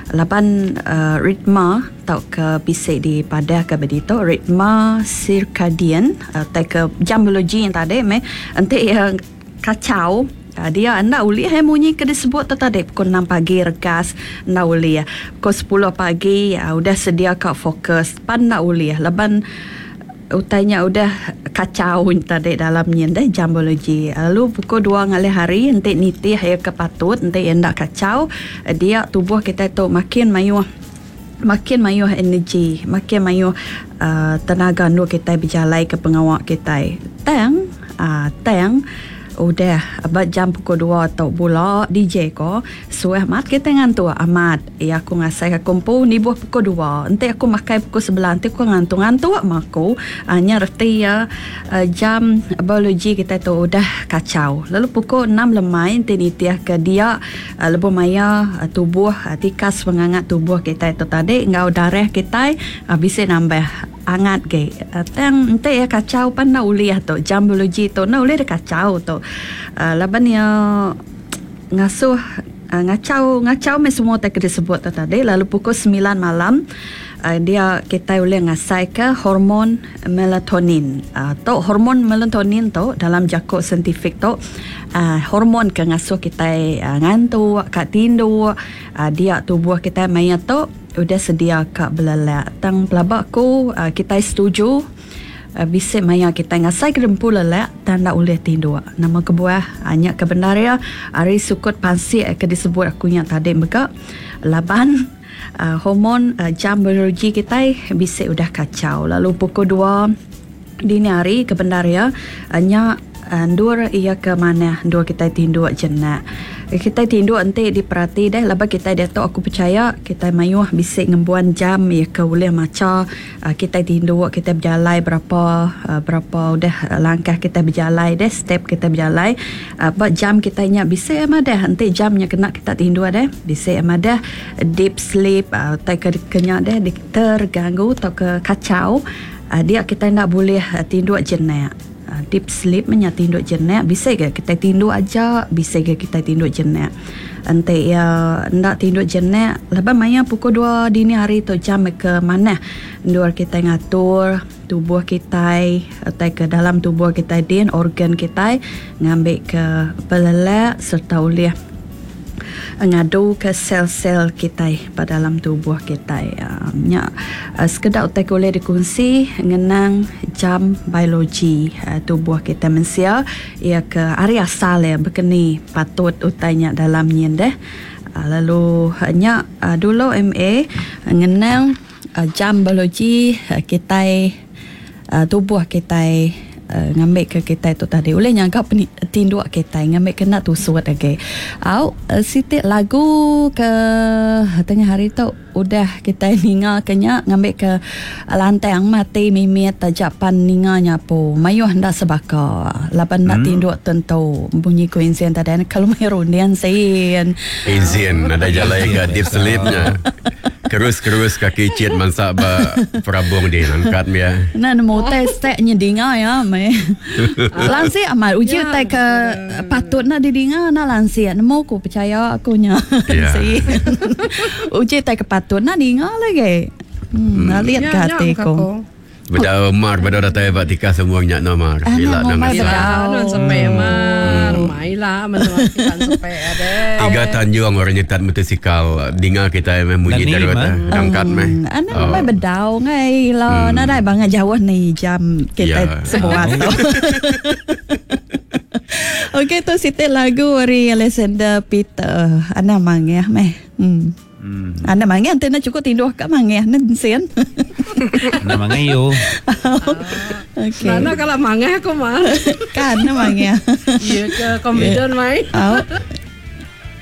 Laban ritma tauka bisi dipadahka ba ditu ritma sirkadian tauka jam biologi nya tadi meh enti iya kachau dia enda ulih eh munyi ke disebut tu tadi pukul enam pagi regas enda ulih pukul sepuluh pagi udah sedia ka fokus pan enda ulih laban Utai nya udah kachau tadi dalam nyin deh jam biologi. Lalu pukul dua ngalih hari enti nitih iya ke patut enti iya enda kachau dia tubuh kitai tu makin mayuh makin mayuh energi makin mayuh uhh tenaga endur kitai bejalaika pengawa kitai. Tang uhh tang udah ba jam pukul dua tu bula DJ ko Suah amat kitai ngantuk amat. Iya aku ngasaika aku empu nibuh pukul dua. Enti aku makai pukul sebelah enti aku ngantuk ngantuk meh aku. Nya reti iya jam biologi kitai tu udah kachau. Lalu pukul enam lemai enti nitihka dia lebuh maya tubuh tikas pengangat tubuh kitai tu tadi enggau darah kitai bisi nambah angat agi. Tang enti iya kachau pan enda ulih tu jam biologi tu enda ulih deh kachau tu laban iya. Ngasuh ngachau ngachau meh semua utai ke disebut tu tadi lalu pukul semilan malam dia kitai ulih ngasaika hormon melatonin. Tu hormon melatonin tu dalam jaku saintifik tu hormon ke ngasuh kitai ngantuk ka tinduk dia tubuh kitai maya tu udah sedia ka belelak. Tang pelaba ku kitai setuju. Bisi maya kitai ngasaika dempu lelak tang enda ulih tinduk. Nama kebuah? Nya ke bendar iya ari sukut pansik ke disebut aku nya tadi mega laban hormon jam biologi kitai bisi udah kachau lalu pukul dua dini hari ke bendar iya nya Endur iya ke manah endur kitai tinduk jenak. Kitai tinduk enti diperati deh laban kitai diatu aku pechaya kitai mayuh bisi ngembuan jam iya ke ulih macha kitai tinduk kitai bejalai berapa berapa udah langkah kitai bejalai deh step kitai bejalai ba jam kitai nya bisi madah enti jam nya kena kita tinduk deh bisi madah deep sleep utai ke nya deh terganggu tauka kachau dia kitai enda bulih tinduk jenak. Deep sleep meh nya tinduk jenak bisi ga kitai tinduk aja bisi ga kitai tinduk jenak. Enti iya enda tinduk jenak laban maya pukul dua dini hari tu jam ke manah endur kitai ngatur tubuh kitai utai ke dalam tubuh kitai din organ kitai ngambi ke belelak sereta ulih Ngaduka sel-sel kitai ba dalam tubuh kitai. Nya sekeda utai ke ulih dikunsi ngenang jam biologi tubuh kitai mensia iya ke ari asal iya bekeni patut utai nya dalam nyin deh. Lalu nya dulu MA ngenang jam biologi kitai tubuh kitai ngambika kitai tu tadi ulih nyaga tinduk kitai ngambika enda tusut agi. Au siti lagu ke tengah hari tu udah kitai ninga ke nya ngambika lantang meh ati mimit taja pan ninga nya apu mayuh enda sebaka laban enda tinduk tentu munyi ku Insin tadi kalau meh runding sin. Insin nadai jalai ga deep sleep nya. Kerus-kerus kaki chit mansa ba perabung dih nangkat mia. Enda nemu utai stek nya dinga iya meh. Lansik amat uji utai ke patut enda didinga enda lansik nemu ku pechaya aku nya. Uji utai ke patut enda dinga lagi. Alit ga ati ku. Bedau mar bedau datai ba tikas umur nya no mar. Ah, Ila nya nang ngumbai asai. bedau. Nun sepe mar. Mai la menua kitan sepe ade. Tiga tanjung orang nyetat motosikal dinga kitai meh munyi Dani terut mah. eh. Dangkat meh. Anak ngumbai bedau ngai ila nadai bangat jauh ni jam kitai Ya. sebuat tu. Okey tu siti lagu ari Alexander Peter. Anang mangih meh. Hmm. Anda mangih enti enda cukup tinduh ka mangih ne sin. Enda mangih yu. Okey. Nana kala mangih aku mah. Kan ne mangih. Iya ke confident mai. Au.